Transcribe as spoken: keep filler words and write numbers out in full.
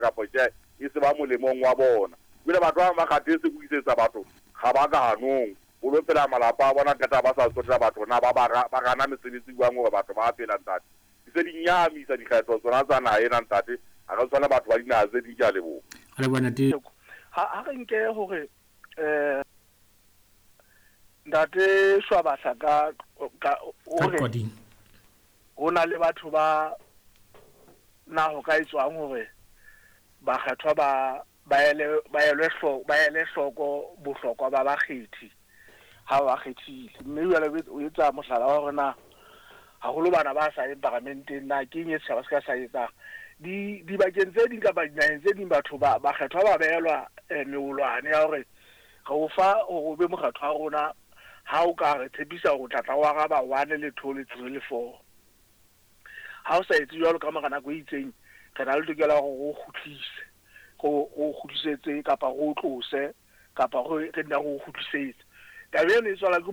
Kapa tjhe, e se ba molemong wa bona. Ebile batho ba bang ba kgathetse ho isetsa batho ga ba ka hanong. O lo phela malapa a bona, qeta ba sa tsotella batho na ba ba ba gana mesebetsi jwang hore batho ba phela, ntate. Di se di nyahamisa dikgetho tsona tsa naha ena, ntate. Ha re tshwane batho ba dinaha tse ding. Ke a leboha. Re leboha, ntate. Ha ha re nke hore eh ntate Shwabahla ka ka o Ka re Qwading. Ho na le batho ba na ho ka etswang hore bakgethwa ba ba ele ba elwe hloko ba ele hloko bohlokwa ba bakgethi ha ba kgethile, mme jwale o etsa mohlala wa hore na haholo bana ba sa yeng paramenteng na ke eng e setjhaba se ka sa etsang di dibakeng tse ding kapa dinaheng tse ding. Batho ba bakgethwa ba behelwa eh, meolwane ya hore re o fa hore o be mokgethwa wa rona ha o ka re tshepisa hore o tla tla o araba one le two le three le four. Ha o sa etse jwalo, ka mora nako e itseng re na le tokelo ya hore re o kgutlise, re o kgutlisetse kapa re o tlose kapa re re nna re o kgutlisetse. Taba eno e tswala ke